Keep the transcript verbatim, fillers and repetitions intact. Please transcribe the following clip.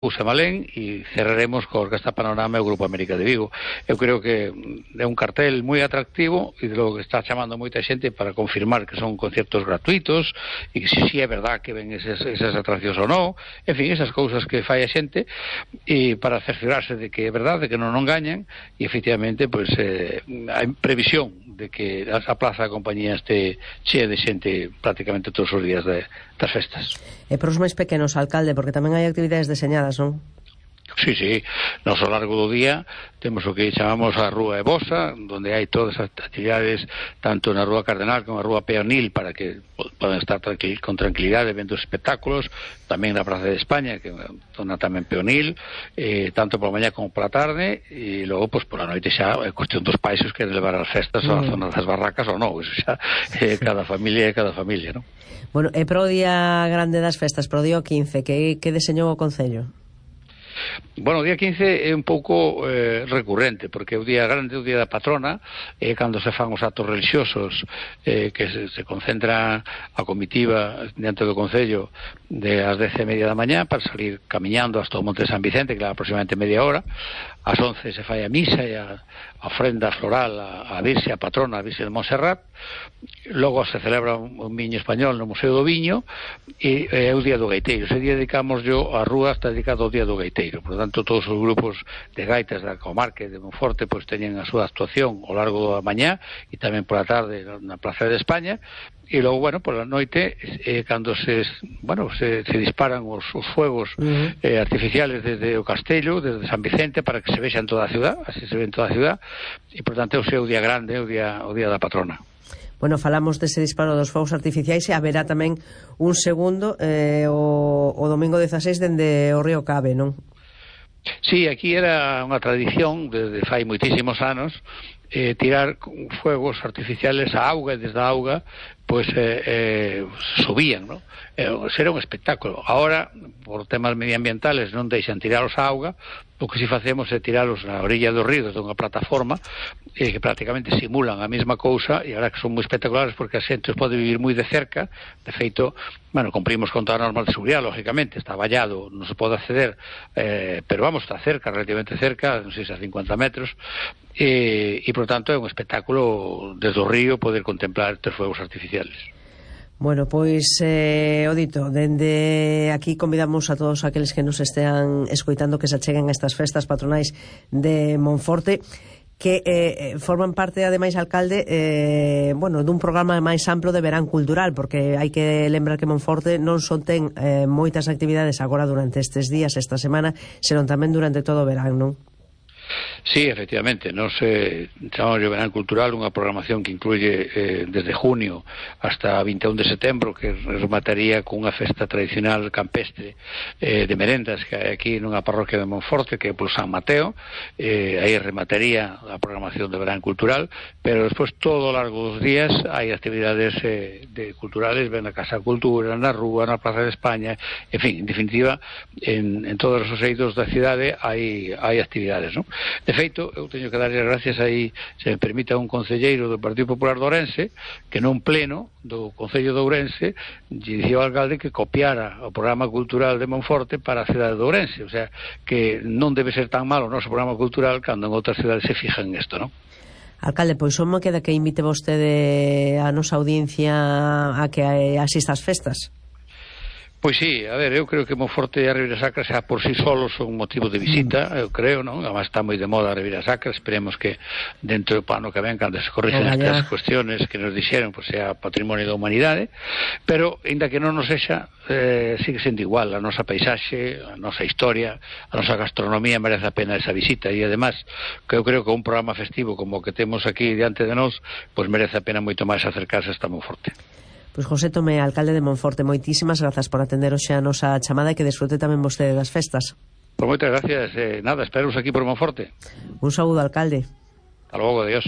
Usa Malén e cerraremos co Orquesta Panorama e o Grupo América de Vigo. Eu creo que é un cartel moi atractivo e de lo que está chamando moita xente para confirmar que son concertos gratuitos e que si, si é verdad que ven esas, esas atraccións ou non, en fin, esas cousas que fai a xente, e para cerciorarse de que é verdade, que non non gañan, e efectivamente pois, eh, hai previsión de que a Plaza da Compañía este chea de xente prácticamente todos os días de, das festas. E para os máis pequenos, alcalde, porque tamén hai actividades deseñadas, non? Sí, sí, nos ao largo do día temos o que chamamos a Rúa Ebosa, onde hai todas as actividades tanto na Rúa Cardenal como na Rúa Peonil para que podan estar tranquil, con tranquilidade vendo os espectáculos, tamén na Praza de España, que é unha zona tamén peonil, eh, tanto pola mañá como pola tarde, e logo, pois, pola noite xa é cuestión dos pais que de levar as festas mm. á zona das barracas ou non, eso xa é cada familia é cada familia, non? Bueno, e pro día grande das festas, pro día quince, que, que deseñou o Concello? Bueno, o día quince é un pouco eh, recurrente, porque o día grande, o día da patrona, é eh, cando se fan os actos religiosos, eh, que se, se concentra a comitiva diante do Concello de as dez e media da mañá para salir camiñando hasta o Monte de San Vicente, que leva aproximadamente media hora. Ás once se fai a misa e a, a ofrenda floral a, a Virxe, a patrona, a Virxe de Montserrat. Logo se celebra un, un viño español no Museo do Viño e é o día do gaiteiro. Ese día dedicamos yo a rúa, está dedicado ao día do gaiteiro. Por tanto, todos os grupos de gaitas da comarca de Monforte pois teñen a súa actuación ao largo da mañá e tamén pola tarde na Plaza de España. E logo, bueno, pola noite, eh, cando se, bueno, se, se disparan os, os fuegos uh-huh. eh, artificiales desde o Castello, desde San Vicente, para que se vexa en toda a ciudad, así se ve en toda a ciudad, e, por tanto, o seu día grande, o día, o día da patrona. Bueno, falamos dese disparo dos fogos artificiais e haberá tamén un segundo eh, o, o domingo dezaseis dende o río Cabe, non? Sí, aquí era unha tradición desde fai moitísimos anos eh, tirar fuegos artificiales a auga e desde a auga pois eh, eh, subían, ¿no? Eh, será un espectáculo. Ahora, por temas medioambientales non deixan tiralos a auga, o que si facemos é tiralos na orilla do río desde unha plataforma eh, que prácticamente simulan a mesma cousa, e agora que son moi espectaculares porque a xente os pode vivir moi de cerca. De feito, bueno, cumprimos con toda a norma de seguridade, lógicamente, está vallado, non se pode acceder, eh, pero vamos, está cerca, relativamente cerca, non sei se a cincuenta metros, e, e por tanto é un espectáculo desde o río poder contemplar estes fuegos artificiales. Bueno, pois, eh, o dito, dende aquí convidamos a todos aqueles que nos estean escoitando que se acheguen a estas festas patronais de Monforte, que eh, forman parte, ademais, alcalde, eh, bueno, dun programa máis amplo de verán cultural, porque hai que lembrar que Monforte non só ten eh, moitas actividades agora durante estes días, esta semana, senón tamén durante todo o verán, non? Sí, efectivamente, nos eh, chamamos de verán cultural, unha programación que incluye eh, desde junio hasta vinte e un de setembro, que remataría con unha festa tradicional campestre eh, de merendas que hai aquí nunha parroquia de Monforte, que é por San Mateo. Eh, aí remataría a programación de verán cultural, pero despois todo o largo dos días hai actividades eh, de culturales, ven na Casa Cultura, na Rúa, na Plaza de España, en fin, en definitiva, en, en todos os eidos da cidade hai, hai actividades, non? De feito, eu teño que darlle gracias aí, se me permite, a un concelleiro do Partido Popular de Ourense, que non pleno do Concello de Ourense lle dicía ao alcalde que copiara o programa cultural de Monforte para a cidade de Ourense, o sea, que non debe ser tan malo o noso programa cultural cando en outras cidades se fijan en isto, non? Alcalde, pois só me queda que invite vostede a nosa audiencia a que asista ás festas. Pois sí, a ver, eu creo que Monforte e a Ribeira Sacra xa por si solos son un motivo de visita, eu creo, non? Además está moi de moda a Ribeira Sacra, esperemos que dentro do pano que ven, cando se corrixen estas cuestiones que nos dixeron, pois sea patrimonio da humanidade, pero, ainda que non nos sexa, eh, sigue sendo igual, a nosa paisaxe, a nosa historia, a nosa gastronomía merece a pena esa visita, e además, que eu creo que un programa festivo como o que temos aquí diante de nós, pois merece a pena moito máis acercarse hasta Monforte. Pois José Tomé, alcalde de Monforte, moitísimas grazas por atender hoxe a nosa chamada e que desfrute tamén vostede das festas. Pois moitas gracias, eh, nada, esperaros aquí por Monforte. Un saúdo, alcalde. Hasta logo, adiós.